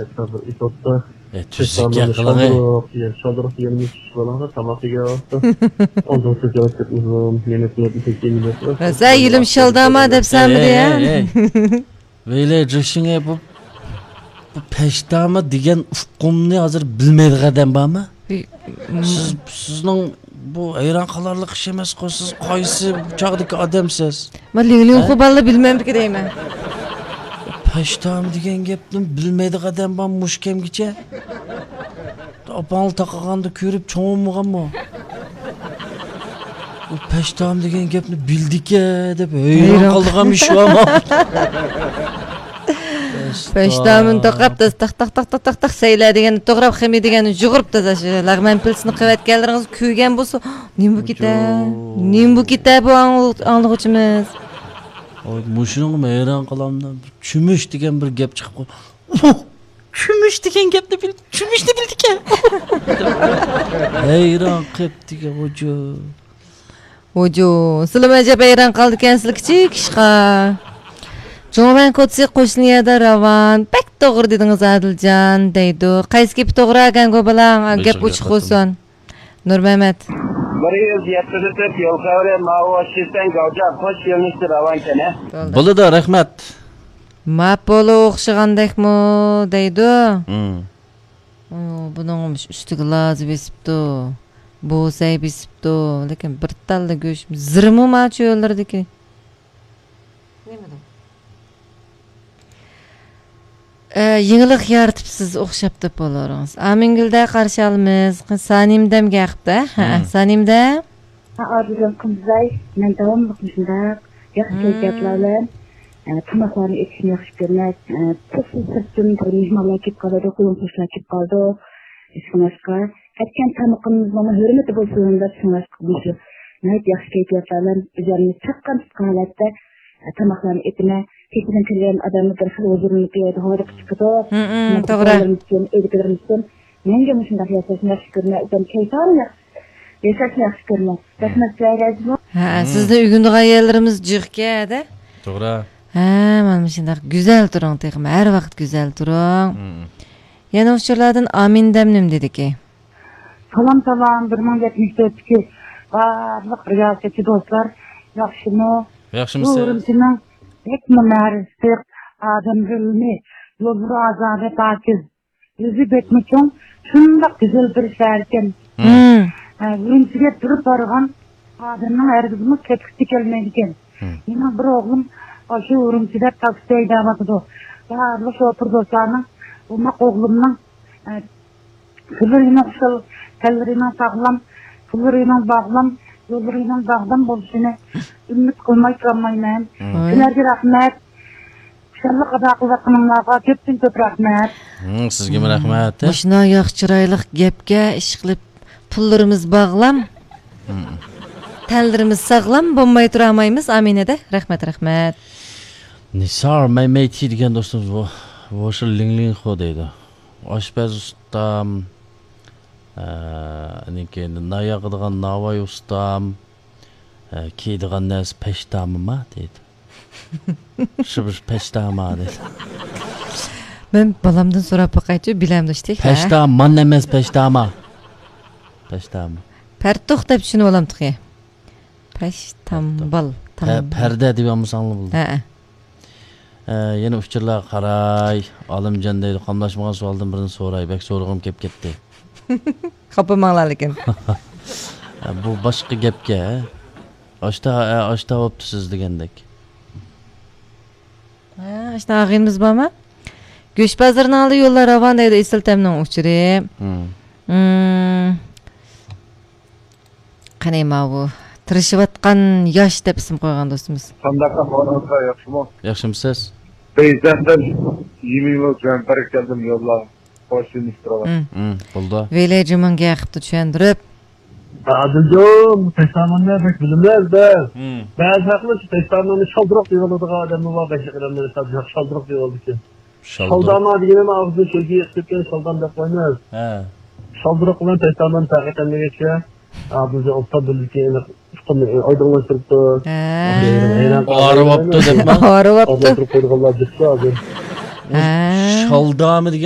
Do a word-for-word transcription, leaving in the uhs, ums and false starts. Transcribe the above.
ئەتراپىدا ئېتىۋاتىدۇ. ئە، تۈزۈك گەپ قىلىڭ، ئەي. شالدۇرۇق، يەنە شالدۇرۇق يېگەن، چۈش بالىغا تاماق يېگەن. ئاندىن سۆز ياۋاپ كەتمىسۇن. مېنى تونۇپ كەتمىسۇن. ھە، سەن يېلىم شالداما دەپ سەنمىدى، ھە؟ ئەي، ئەي، ئەي. ۋەيلە، جېشىڭە بۇ، بۇ پەشتامى دېگەن ئۇقۇمنى ھازىر بىلمەيدىغان ئادەم بارمۇ؟ بى-، سىز، سىزنىڭ بۇ ھەيران قالارلىق ئىش ئەمەسقۇ، سىز قايسى چاغدىكى ئادەمسىز؟ مەن لىڭلىڭ، ھە؟ خۇباللا بىلمەمدىكى دەيمەن. پەشتامى دېگەن گەپنى بىلمەيدىغان ئادەم بار مۇشۇ كەمگىچە؟ ئاپاڭلا تاقىغاندا كۆرۈپ چوڭ بولمىغانمۇ؟ ئۇ پەشتام دېگەن گەپنى بىلدىكەن دەپ ھەيران قالدىغان ئىش بارمۇ؟ پەشتامىنى توقاپ، تاق، تاق، تاق، تاق، تاق، تاق، سەيلە دېگەننى توغراپ، خېمىر دېگەننى يۇغۇرۇپ، تازا شۇ لەغمەن پىلىسىنى قىلىۋەتكەنلىرىڭىز كۆرگەن بولسا، نېمە بۇ كېتە؟ نېمە بۇ كېتە بۇ ئاڭلىغۇچىمىز؟ مۇشۇنىڭغا ھەيران قالامدۇ. چۆمۈچ دېگەن بىر گەپ چىقىپ قالدى. ئۇھ! چۆمۈچ دېگەن گەپنى بىل، چۆمۈچنى بىلدىكەن. ھەيران قېپتىكەن ھوجا. ھوجا، سىلىمۇ ئەجەب ھەيران قالدىكەنسىلەر كىچىك ئىشقا. جۇڭۋەن كوچىسى قوشنا يەردە راۋان. بەك توغرا دېدىڭىز، ئادىلجان، دەيدۇ. قايسى گېپى توغرا ئەكەن گو بالا؟ گەپ ئوچۇق بولسۇن. نۇرمەمەت. بىر يۈز يەتتە تۆت يول خەۋىرى، ماۋۇ شىسەن گاۋجا قوش يۆنىلىشتە راۋانكەن، ھە؟ بولىدۇ، رەھمەت. ماپولو ئوخشىغاندەكمۇ دەيدۇ. مم. ئۇ، بۇنىڭ ئۈستىگە لازا بېسىپتۇ. بوسەي بېسىپتۇ. لېكىن بىر تاللا گۆش زىرمۇ ما چۆللىرىدىكى. نېمىدۇ؟ ئە، يېڭىلىق يارىتىپسىز ئوخشاپ دەپ بولۇرىڭىز. ئامىنگۈلدە قارشى ئالىمىز. سانىمدەمگە ھەقتە. ھە، مم. سانىمدە. ھە، ئادىلجان قىمزاي، مەن داۋاملىق مۇشۇنداق ياخشى مم. كەيپىياتلار بىلەن، ئە، تاماقلارنى ئېتىشنى ياخشى كۆرىمەن. ئە، تېخى سىرتتىن بىر مېھمانلار كېلىپ قالىدۇ، قولۇم قوشنىلار كېلىپ قالىدۇ. شۇڭلاشقا، ئەتكەن تامىقىمىزنىڭ ھۆرمىتى بولسۇن دەپ، شۇڭلاشقا مۇشۇ ناھايىتى ياخشى كەيپىياتلار بىلەن ئۆزۈمنى چاققان تۇتقان ھالەتتە، ئە، تاماقلارنى ئېتىمەن. كېچىدىن كىرگەن ئادەممۇ بىر خىل ھۇزۇرلىنىپ يەردە ھويلىقى چىقىدۇ. ھم، ھم، توغرا. ئۇكىلىرىمىزدىن، ئۆيدىكىلىرىمىزدىن مەڭگۈ مۇشۇنداق ياشاشنى ياخشى كۆرىمەن. ئۆزۈم كەيپىم ياخشى. ياشاشنى ياخشى كۆرىمەن. رەھمەت سىلەرگە ئەزىزمۇ. ھە، ھم. سىزنى ئۆگىنىدىغان يەرلىرىمىز جىقكەن-دە. توغرا. ھە، مانا مۇشۇنداق گۈزەل تۇرۇڭ تېخىمۇ. ھەر ۋاقىت گۈزەل تۇرۇڭ. ھم. يەنە ئۇچۇرلاردىن ئامىندەم نېمە دېدىكى؟ سالام، سالام، بىر مىڭ يەتمىش تۆتتىكى بارلىق رىياسەتچى دوستلار، ياخشىمۇ؟ ياخشىمۇسىز؟ بۇ ئۈرۈمچىنىڭ بەكمۇ مەرىسى، ئادەم بىلىمى، يوللىرى ئازادە، پاكىز. يۈزى بەكمۇ چوڭ، شۇنداق گۈزەل بىر شەھەركەن. مم. ھە، ئۈرۈمچىگە بىر بارغان ئادەمنىڭ ھەرگىزمۇ كەتكۈسى كەلمەيدىكەن. مم. مېنىڭ بىر ئوغلۇم ئاشۇ ئۈرۈمچىدە تاكسى ھەيدەۋاتىدۇ. بارلىق شوپۇر دوستلارنىڭ ئوماق ئوغلۇمنىڭ، ھە، پۇللىرىنىڭ خۇشال، تەنلىرىنىڭ ساغلام، پۇللىرىنىڭ باغلام، يوللىرىنىڭ داغدام بولۇشىنى ئۈمىد قىلماي تۇرالمايمەن. مم. سىلەرگە رەھمەت. خۇشاللىق ئاتا قىلىۋاتقىنىڭلارغا كۆپتىن كۆپ رەھمەت. ھىم، سىزگىمۇ رەھمەت. مۇشۇنداق ياخشى چىرايلىق گەپكە ئىشقىلىپ پۇللىرىمىز باغلام، ھىم. تەنلىرىمىز ساغلام بولماي تۇرالمايمىز. ئامىنەدە. رەھمەت، رەھمەت. نىسار مەيمەيتى دېگەن دوستىمىز بۇ. ۋوشى لىڭلىڭخۇ دەيدۇ. ئاشپەز ئۇستام، ئە، ئاندىن كېيىن نان ياغىدىغان ناۋاي ئۇستام، ئە، كىيىدىغان نەرسە پەشتامىما دەيدۇ. شۇ بىر پەشتاما دەيدۇ. مەن بالامدىن سوراپ باقايچۇ، بىلەمدۇ ئىشتىك، ھە؟ پەشتامان ئەمەس، پەشتاما. پەشتاما. پەرتۇق دەپ چۈشىنىۋالامتۇق يا؟ پەشتامبال. پە-، پەردە دېيەلمىسەڭلار بولدى. ھەئە. ئە، يەنە ئۇچۇرلارغا قاراي. ئالىمجان دەيدۇ، قاملاشمىغان سوئالدىن بىرنى سوراي. بەك سورىغۇم كېلىپ كەتتى. خاپىماڭلار لېكىن. ئە، بۇ باشقا گەپكە. ئاشتا، ئە، ئاشتا بوپتۇ سىز دېگەندەك. ھە، ئاشتا ئاغىنىمىز بارمۇ؟ گۆش بازىرىنىڭ ئالدى يوللار راۋان دەيدۇ، ئېسىل تەمنىڭ ئۇچۇرى. ھىم. ھىم. قېنى ماۋۇ تىرىشىۋاتقان ياش دەپ ئىسىم قويغان دوستىمىز. قانداق ئەھۋالىڭىزلار، ياخشىمۇ؟ ياخشىمۇسىز؟ پەيزەندەم يېمىنىڭ بىلەن بەرىكەلدىم يوللار. خوش يېنىشتۇرۇۋاتىمەن. ھىم. ھىم، بولدى. ۋېلى جۇمۇڭ گەقىپتۇ چۈشەندۈرۈپ. ئادىلجان، بۇ پەشتاماننى بەك بىلىمەن بىز. ھىم. بەزى خەقلەر شۇ پەشتاماننى شالدۇرۇق دېيىۋالىدىغان ئادەممۇ بار، بەشىق ئادەملەر شالدۇرۇق دېيىۋالىدىكەن. شالدۇرۇق. شالداما دېگىنىمۇ ئاغزىدىن شۆلگە ئېقىپ كەتكەن شالدام دەپ قويىمىز. ھە. شالدۇرۇق بىلەن پەشتاماننى پەرق ئېتەلمىگەچكە، ئادىلجان ئوبدان بىلىدىكەن، ئېنىق ئۇقۇمنى ئايدىڭلاشتۇرۇپتۇ. ھە. ھەيران قالدىم. ئارىۋاپتۇ دەپمۇ؟ ئارىۋاپتۇ. ئولتۇرۇپ قويىدىغانلار جىقتى ھازىر. ھە. شالدامى دېگەن